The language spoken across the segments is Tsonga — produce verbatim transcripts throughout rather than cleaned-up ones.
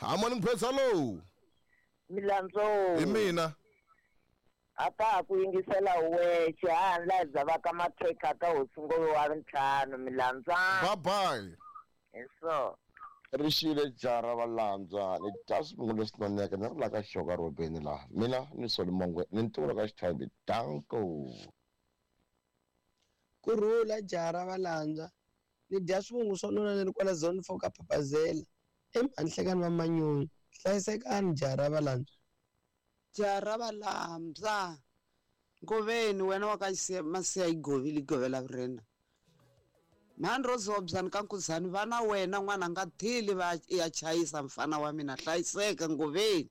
Ha morning Prince, hello. Milandzo. Hi mina. Ata ku yingisela wexe ha la zava ka makhekha ka hosi wa ntlhanu Milandzo. Bye bye. Eso. Rixile jara valandzwa ni dya swivungu leswi noneke ni ri la ka xoka robeni laha mina ni Solomongwe ni ntulo ka xithambi danko. Kurhula jara valandzwa ni dya swivungu swo nona ni ri kwala zone four ka Papazela emhanhlekani va Manyoni hlayisekani jara valandzwa. Jara valandzwa ngoveni wena wa ka masiya yi govile govela vurena mhani ro zobzani ka nkuzani vana wena n'wana nga thili va ya chayisa mfana wa mina hlayiseka ngoveni.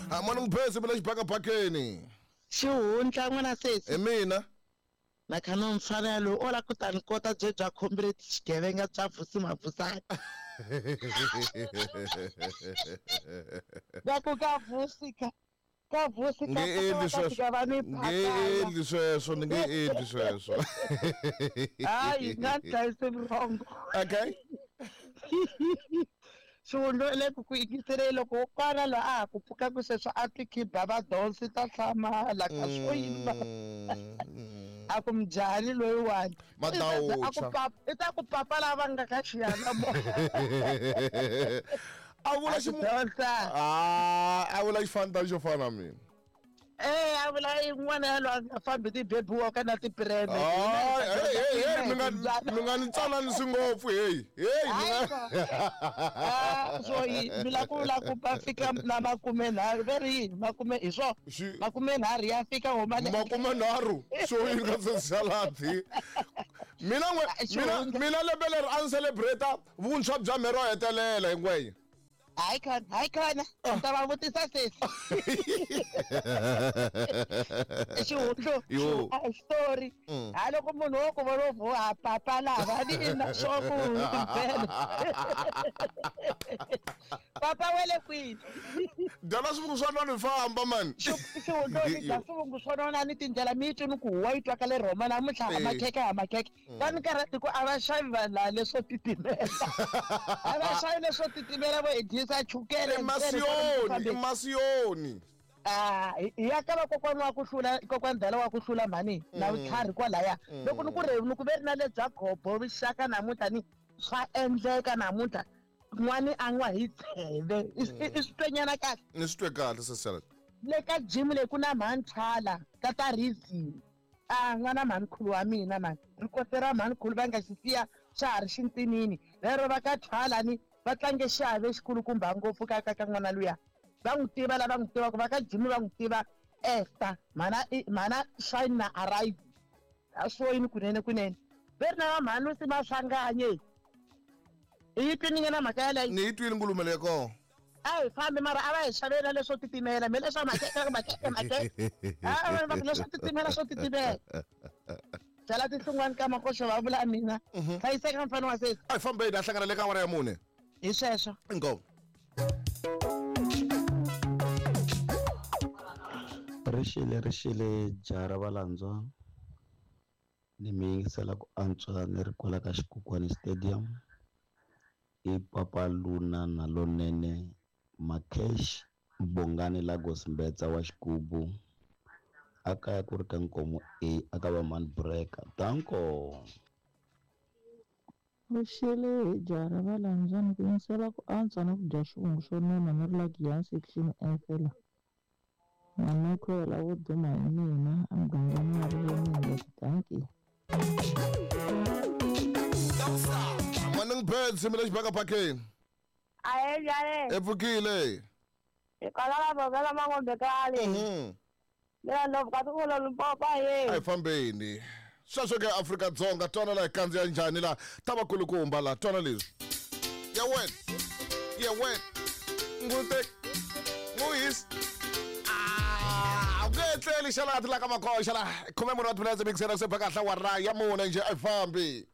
Ha morning Prince bila xibakabakeni. Xihundla n'wana sesi. Hi mina. Na khana mfana loyi o la ku ta ni kota bye bya khombile xigevenga bya Vusi Mavusana. Va ku ka Vusi ka ka Vusi ka ka va ni nge endli sweswo ni nge endli sweswo. Hayi nga dlayise vurhongo. Okay. Xihundla le ku ku yingisele loko kwana la a ku pfuka ku sweswo a ti khiba va donsi ta hlamala ka swo yini. A ku mjhani loyiwani a ku papa i ta ku papa lava nga ka xiyana mo. A vula ximu ah a vula xifanta xo fana mina. Eh a vula yin'wana ya loyi a nga fambi ti-baby walker na ti-preme. Hey hey hey mi nga mi nga ni tsalanisi ngopfu hey hey mi nga ah so mi la ku la ku va fika na makume nharhu ve ri yini makume hi swo makume nharhu ya fika homa le makume nharhu so yi nga se saladi mina n'we mina mina lembe leri a ni celebrate vuntshwa bya mhero hetelela hinkwayo. Hayi khona hayi khona ni ta va vutisa sesi. Xihundlo a story ha loko munhu wo ku vona vo ha papa lava ni ina swo ku vhela papa wele kwini dala swivungu swa nona famba man. Xihundlo ni dya swivungu swo nona ni tindlela mi twi ni ku huwa yi twaka le Rhoma namuntlha ha makhekhe ha makhekhe va ni karhati ku a va xavi vanhu laha leswo titimela a va xavi leswo titimela vo disa chukele emasiyoni emasiyoni. Ah ya ka vakokwana wa ku hlula kokwana dala wa ku hlula mhani na vutlhari kwalaya loko ni ku re ni ku ve ri na le bya gobo vixaka namuntlha ni swa endleka namuntlha n'wani a n'wa hi tsheve i swi twenyana kahle ni swi twe kahle sesela le ka gym leyi ku na mhani Thala ka ta reason a n'wana mhanikhulu wa mina mhani rikote ra mhanikhulu va nga xi siya xa ha ri xintinini lero va ka Thala ni va tlange xiave xikulukumba ngopfu ka ka ka n'wana luya va n'wi tiva lava n'wi tivaka va ka Jimmy va n'wi tiva Esther mana mana shine na arrive a swo yini kunene kunene ve ri na va mhani si Maswanganye i yi twini na mhaka yaleyo ni yi twile nkulumo leyi kona a hi fambi mara a va hi xavela leswo titimela me leswa makhekhe makhekhe makhekhe a va va leswo titimela swo titimela byala tinhlungwani ka makoxo va vula mina hlayiseka mfana wa sesi a hi fambeni a hlangana le ka awara ya mune hi sweswo inkomu. Rixile rixile jara valandzwa ni mi yingisela ku antswa ni ri kwala ka Xikukwani Stadium i Papa Luna na lonene Makesh Bongani Lagos Mbetsa wa Xigubu a kaya ku ri ka Nkomo A a ka va Man Breaker danko. Rixile jara valandzwa ni ku yingisela ku antswa na ku dya swivungu swo nona ni ri la Giyani section F la na makhwela wo duma hi mina emugangeni wa Rivoningo dankie. Morning Birds mi le xibakabakeni. Ahe njhani? E pfukile. Hi kwala la Bovela Mangombe kale. Mhm. Mina ndobva ka Limpopo Limpopo ahe. A hi fambeni. Sweswo ke Afrika-Dzonga twana la hi kandziya njhani la ta vakulukumba la twana leswi. Ya wena. Ya wena. Ngute. Nguhis. Ah, u nge tleli xalati la ka makoxa la khume mune wa timinetse mixera se phakahla wa ra ya mune njhe a hi fambi.